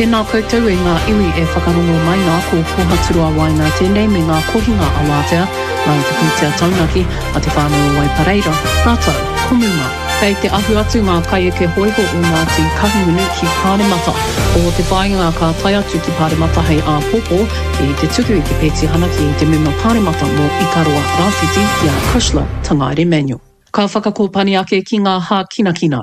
Tēnā koutou e ngā iwi e whakarongo mai nā, ko Kōhaturoa Waenga tēnei me ngā kohinga awatea nā te pūtea taunaki a te whānau o Waipareira rātou ko Muma. Kei te ahu atu ngā kaieke hōiho o Ngāti Kahungunu ki Pāremata. Ko te whāinga ka tae atu ki Pāremata hei āpōpō ki te tuku i te petihana ki te mema Pāremata mō Ikaroa Rāwhiti ki a Cushla Tangaere-Manuel. Ka whakakōpani ake ki ngā hākinakina.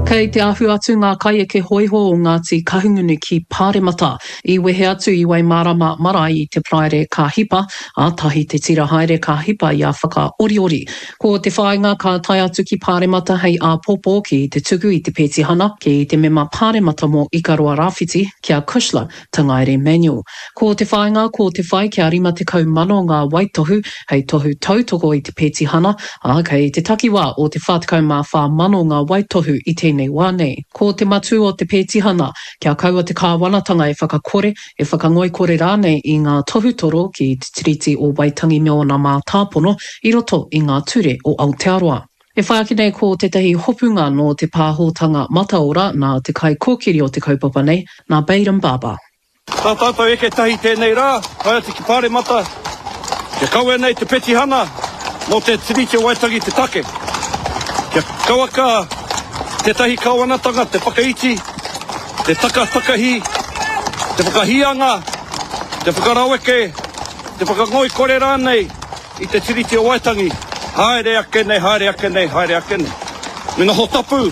Kei te ahu atu ngā kaieke hōiho o Ngāti Kahungunu ki Pāremata. I wehe atu i Waimārama marae i te Paraire ka hipa, ā, tahi te tira haere ka hipa i a Whakaoriori. Ko te whāinga ka tae atu ki Pāremata hei āpōpō ki te tuku i te pētihana ki te mema Pāremata mō Ikaroa Rāwhiti, ki a Cushla Tangaere Manuel. Ko te whāinga ko te whai kia 50 mano ngā waitohu hei tohu tautoko i te pētihana, ā, kei te takiwā o te 44 mano ngā waitohu i tēnei wā nei. Ko te matū o te pētihana, kia kaua te kāwanatanga e whakakore, e whakangoikore rānei i ngā tohutoro ki Te Tiriti o Waitangi me ōna mātāpono i roto i ngā ture o Aotearoa. E whai ake nei ko tētahi hopunga nō te pāhotanga mataora nā te kaikōkiri o te kaupapa nei, nā Bayram Baba. Tā tātou eke tahi tēnei rā, tae atu ki Pāremata, kia kawea nei te petihana mō te Tiriti o Waitangi te take. Kia kauaka tētahi kāwanatanga te whakaiti, te takatakahi, te whakahīanga, te whakaraweke, te whakangoikore rānei I te Tiriti o Waitangi, haere ake nei, haere ake nei, haere ake nei. Me noho tapu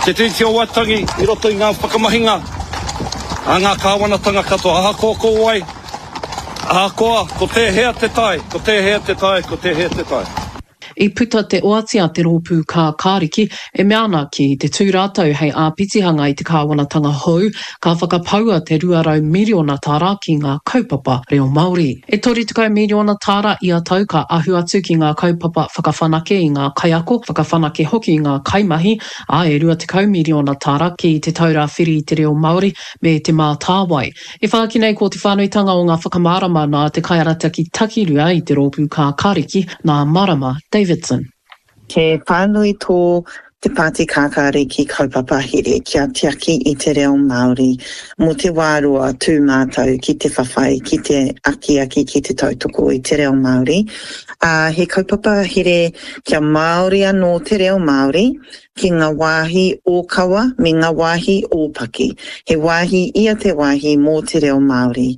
te Tiriti o Waitangi i roto i ngā whakamahinga a ngā kāwanatanga katoa, ahakoa ko wai, ahakoa ko tēhea te tae, ko tēhea te tae, ko tēhea te tae. I puta te oati a te Rōpū Kākāriki e mea ana ki te tū rātou hei āpitihanga i te kāwanatanga hou, ka whakapaua te 200 miriona tāra ki ngā kaupapa reo Māori. E 30 miriona tāra ia tau ka ahu atu ki ngā kaupapa whakawhanake i ngā kaiako, whakawhanake hoki i ngā kaimahi, ā, e 20 miriona tāra ki Te Taura Whiri i te Reo Māori me Te Mātāwai. E whāki nei ko te whānuitanga o ngā whakamārama nā te kaiarataki takirua i te Rōpū Kākāriki, nā Marama Davidson. He whānui tō Te Pāti Kākāriki kaupapa here kia tiaki i te reo Māori mō te wā roa tū mātou ki te whawhai, ki te akiaki, ki te tautoko i te reo Māori. Ā, he kaupapa here kia Māori anō te reo Māori ki ngā wāhi ōkawa me ngā wāhi ōpaki. He wāhi ia te wāhi mō te reo Māori.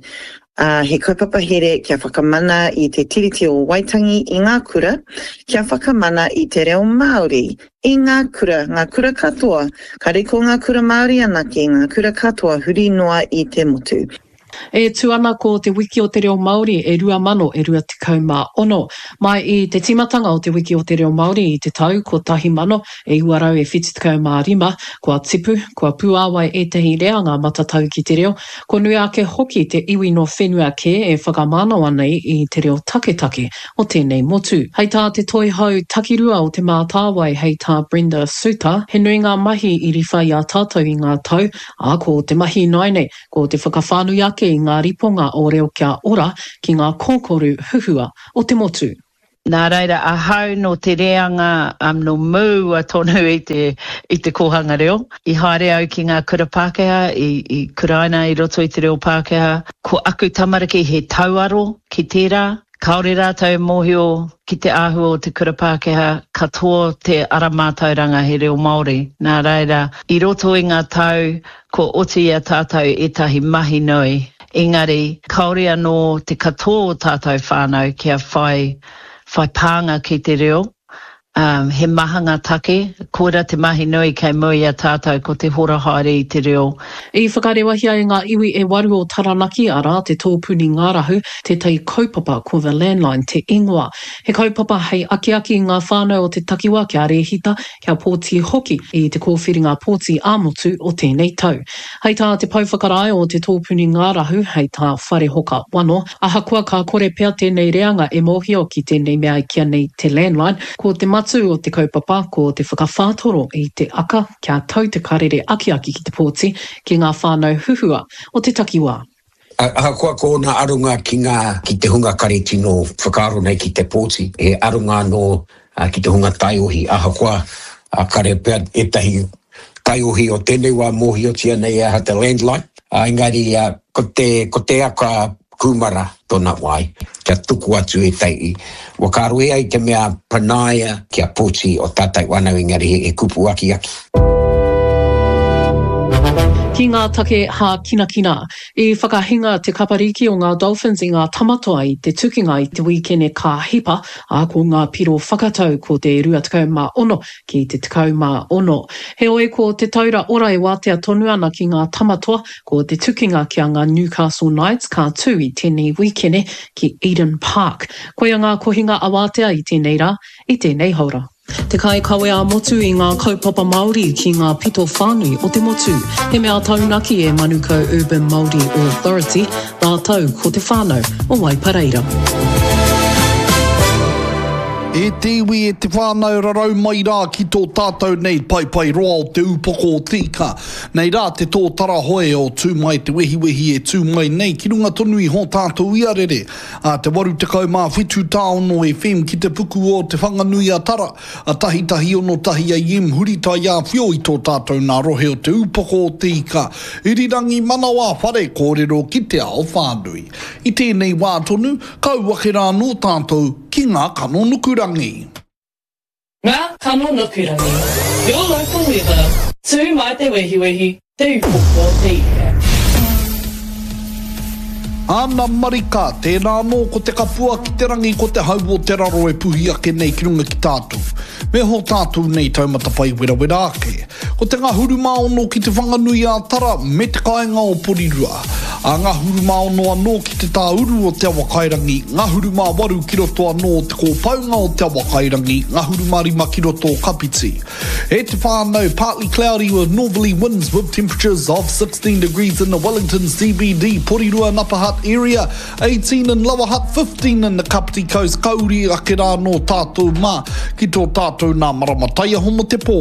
Ā, he kaupapa here kia whakamana i Te Tiriti o Waitangi i ngā kura, kia whakamana i te reo Māori i ngā kura, ngā kura katoa, kāre ko ngā kura Māori anake, ngā kura katoa huri noa i te motu. E tū ana ko Te Wiki o te Reo Māori e 2000 e 26. Mai i te tīmatanga o Te Wiki o te Reo Māori i te tau 1975, kua tipu, kua puāwai ētahi reanga matatau ki te reo, Kua nui ake hoki te iwi nō whenua kē e whakamānawa nei i te reo taketake o tēnei motu. Hei tā te Toihau Takirua o Te Mātāwai hei tā Brenda Soutar, he nui ngā mahi i riwha i a tātou i ngā tau, ā, ko te mahi ināianei, ko te whakawhānui ake i ngā riponga o Reo Kia Ora ki ngā kōkoru huhua o te motu. Nā reira, ahau nō te reanga nō mua tonu i te, i te kōhanga reo. I haere au ki ngā kura Pākehā, i, i kuraina i roto i te reo Pākehā. Ko aku tamariki he tauaro ki tērā. Kāore rātou e mōhio ki te āhua o te kura Pākehā, katoa te ara mātauranga he reo Māori. Nā reira, i roto i ngā tau, kua oti i a tātou ētahi mahi nui. Engari, kāore anō te katoa o tātou whānau kia whai, whai pānga ki te reo. Um, he maha ngā take, koira te mahi nui kei mua i a tātou ko te hora haere i te reo. I whakarewahia e ngā iwi e waru o Taranaki, arā, te Tōpuni Ngārahu, tētahi kaupapa ko The Landline te ingoa. He kaupapa hei akiaki i ngā whānau o te takiwa kia rēhita, kia pōti hoki i te kōwhiringa pōti ā-motu o tēnei tau. Hei tā te pou whakarae o te tōpuni ngārahu, hei tā Wharehoka Wano, ahakoa ka kore pea tēnei reanga e mōhio ki tēnei mea e kīa nei te landline, ko te matū o te kaupapa ko te whakawhātoro i te aka kia tau te karere akiaki ki te pōti ki ngā whānau huhua o te takiwā. Ahakoa ko ōna aronga ki ngā, ki te hunga kare tino whakaaro nei ki te pōti, he aronga anō ki te hunga taiohi, ahakoa kare pea ētahi. Taiohi o tēnei wā mōhiotia nei e aha te landline, ā, engari ko te, ko te aka kūmara tōna wai, kia tuku atu e tai, whakaaro e ai te mea panaia kia poti o tātou whanau engari he kupu akiaki. Ki ngā take hākinakina, I whakahinga te kapariki o ngā Dolphins i ngā Tamatoa i te tukinga i te wīkene ka hipa, ā, ko ngā piro whakatau ko te 26 ki te 16. Heoi, ko te taura ora e wātea tonu ana ki ngā Tamatoa, ko te tukinga ki a ngā Newcastle Knights ka tū i tēnei wīkene ki Eden Park. Koia ngā kohinga awātea i tēnei rā, i tēnei haora. Te kaikawe ā-motu i ngā kaupapa Māori ki ngā pito whānui o te motu. He mea taunaki e Manukau Urban Māori Authority rātou ko te whānau o Waipareira. E te iwi, e te whānau, rarau mai rā ki tō tātou nei paepae roa o te upoko o te ika. Nei rā te tōtara hoe o tū mai te wehiwehi e tū mai nei ki runga tonu i hō tātou iarere. A te 87 tāono FM ki te puku o Te Whanganui-a-Tara, a tahitahi 61 AM huri taiāwhio i tō tātou nā rohe o Te Upoko o Te Ika, Irirangi Manawa Whare kōrero ki te ao whānui. I tēnei wā tonu, ka au ake rā anō tātou ki ngā kano nukurangi. Ngā kano nukurangi, Your local weather, Tū mai te wehiwehi, Te Upoko o te Ika. Ana marika, tēnā anō ko te kapua ki te rangi ko te hau o te raro e puhi ake nei ki runga ki tātou. Me hō tātou nei taumata whai werawera ake. Ko te ngahuru mā ono ki Te Whanganui-ā-Tara me te kāinga o Porirua. A ngahuru mā ono anō ki te tāuru o Te Awakairangi, ngahuru mā waru ki roto anō o te kōpaunga o Te Awakairangi, ngahuru mā rima ki roto o Kapiti. E te whānau, partly cloudy with northerly winds with temperatures of 16 degrees in the Wellington CBD, Porirua and Upper Hutt area, 18 in Lower Hutt, 15 in the Kapiti Coast, ka uri ake rā anō tātou mā ki tō tātou nā marama taiaho mō te pō.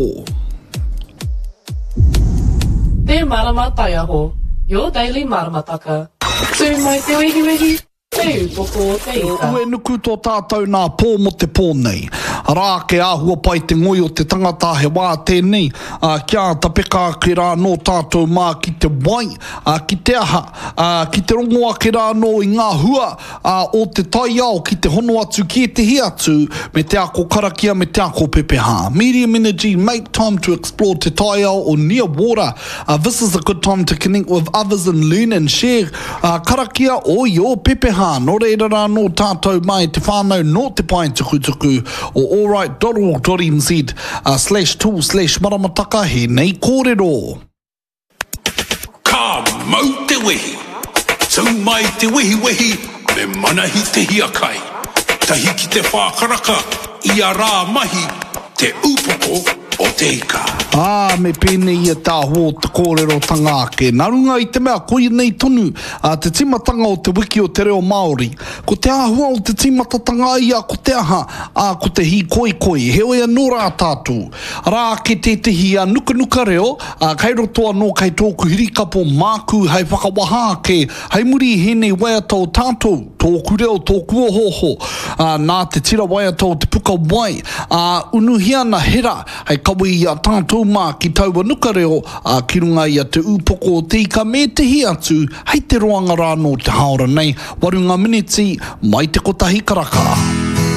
Te Marama Taiaho, your daily maramataka. Tū mai te wehiwehi, te upoko o te ika. Uenuku tō tātou nā pō mō te pō nei. Arā ake āhua pai te ngoi o te tangata he wā tēnei, ā, kia āta peka ake rā anō tātou mā ki te wai, ā, ki te aha, ā, ki te rongo ake rā anō i ngā hua, ā, o te taiao ki te hono atu ki ētehi atu me te ako karakia me te ako pepeha. Medium energy, make time to explore te taiao or near water, ā, this is a good time to connect with others and learn and share, ā, karakia o your pepeha. Nō reira rā anō tātou mai te whānau nō te pae tukutuku o allright.org.nz, ā, slash tool slash maramataka hēnei kōrero. Ka mau te wehi! Tū mai te wehiwehi me Manahi te hiakai. Tahi ki te whākaraka ia rā mahi te upoko o te ika. Ā, me pēnei ia te āhua o te kōrerotanga ake. Nā runga i te mea koia nei tonu te tīmatanga o te wiki o te reo Māori. Ko te āhua o te tīmatatanga ia ko te aha, ā, ko te hīkoikoi. Heoi anō rā tātou. Arā ake tētehi nukanuka reo, ā, kei roto anō kei tōku hirikapo māku hei whakawaha ake hei muri i hēnei waiata o tātou, tōku reo, tōku ohooho, ā, nā te tira waiata o te puka wai, ā, unuhia ana he rā hei kawe i a tātou mā ki taua nuka reo, ā, ki runga i a Te Ūpoko o Te Ika me ētehi atu hei te roanga rā nō te hāora nei, waru ngā miniti mai te kotahi karaka.